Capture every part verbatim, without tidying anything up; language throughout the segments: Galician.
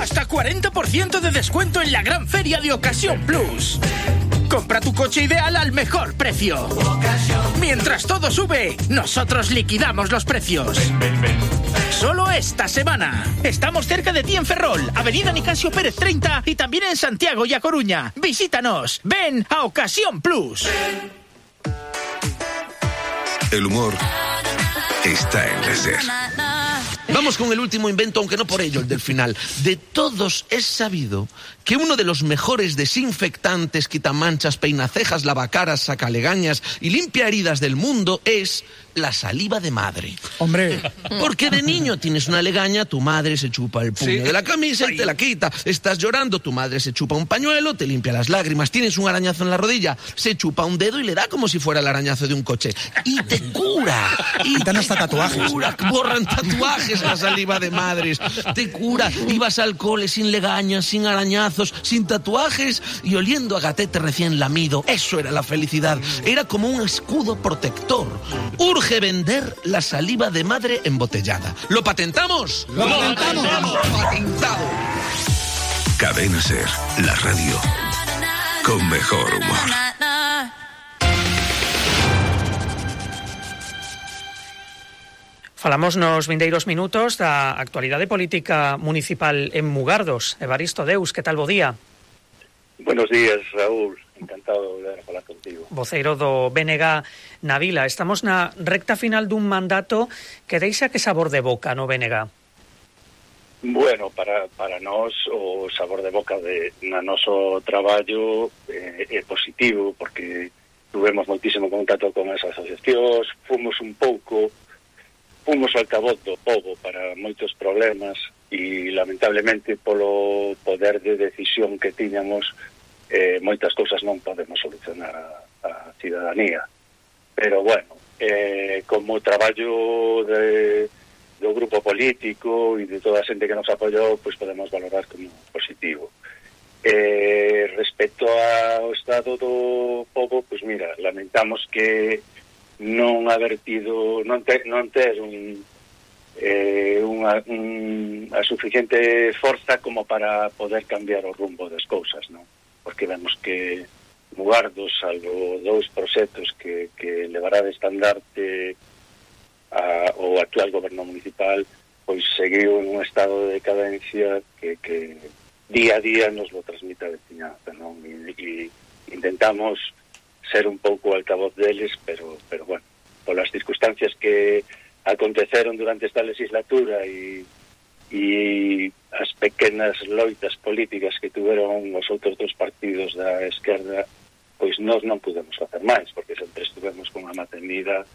Hasta cuarenta por ciento de descuento en la gran feria de Ocasión Plus. Compra tu coche ideal al mejor precio. Mientras todo sube, nosotros liquidamos los precios. Solo esta semana. Estamos cerca de ti en Ferrol, Avenida Nicasio Pérez treinta y también en Santiago y A Coruña. Visítanos. Ven a Ocasión Plus. El humor está en la SER. Vamos con el último invento, aunque no por ello el del final. De todos es sabido que uno de los mejores desinfectantes, quitamanchas, peinacejas, lavacaras, sacalegañas y limpia heridas del mundo es la saliva de madre. Hombre. Porque de niño tienes una legaña, tu madre se chupa el puño Sí. de la camisa y te la quita. Estás llorando, tu madre se chupa un pañuelo, te limpia las lágrimas. Tienes un arañazo en la rodilla, se chupa un dedo y le da como si fuera el arañazo de un coche. Y te cura. Y Quitan hasta tatuajes. Cura, borran tatuajes la saliva de madres. Te cura. Ibas al cole sin legañas, sin arañazos, sin tatuajes y oliendo a gatete recién lamido. Eso era la felicidad. Era como un escudo protector. Urge vender la saliva de madre embotellada. ¿Lo patentamos? ¡Lo patentamos! ¡Patentado! Cadena SER, la radio con mejor humor. Falamos nos vindeiros minutos da actualidade política municipal en Mugardos. Evaristo Deus, que tal bo día? Buenos días, Raúl. Encantado de volver a falar contigo. Voceiro do B N G na Vila. Estamos na recta final dun mandato que deixa que sabor de boca no B N G. Bueno, para, para nós o sabor de boca de na noso traballo eh, é positivo, porque tuvemos moitísimo contacto con esas asociacións, fomos un pouco fomos o altavoz do pobo para moitos problemas e lamentablemente polo poder de decisión que tiñamos eh, moitas cousas non podemos solucionar a, a cidadanía. Pero bueno, eh, como traballo de, do grupo político e de toda a xente que nos apoyou, pois podemos valorar como positivo. Eh, respecto ao estado do pobo, pois mira, lamentamos que non haber tido, non ter, non ter un, eh, unha, un, a suficiente forza como para poder cambiar o rumbo das cousas, non? Porque vemos que Mugardos, salvo dous proxectos que, que levará de estandarte a, o actual goberno municipal, pois seguiu en un estado de decadencia que, que día a día nos lo transmite a veciñanza, non? E, e intentamos ser un pouco altavoz deles, pero, pero bueno, polas circunstancias que aconteceron durante esta legislatura e, e as pequenas loitas políticas que tuveron os outros dos partidos da esquerda, pois nós non pudemos facer máis, porque sempre estivemos con a matemida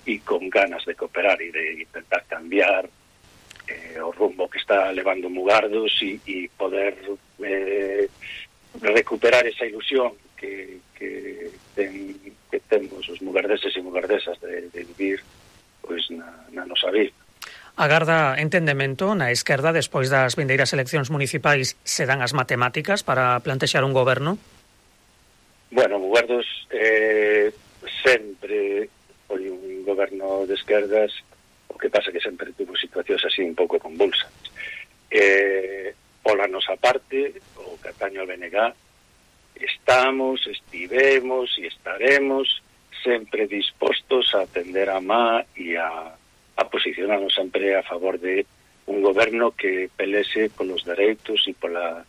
e con ganas de cooperar e de intentar cambiar eh, o rumbo que está levando Mugardos e, e poder eh, recuperar esa ilusión que, que, ten, que temos os mugardeses e mugardesas de, de vivir pois na, na nosa vida. Agarda entendemento na esquerda despois das vindeiras eleccións municipais se dan as matemáticas para plantexar un goberno? Bueno, Mugardos eh, sempre foi un goberno de esquerdas, o que pasa que sempre tuvo situacións así un pouco convulsas. Eh, pola nosa parte, o que atañe ao B N G, estamos, estivemos e estaremos sempre dispostos a atender a má e a, a posicionarnos sempre a favor de un goberno que pelese polos dereitos e pola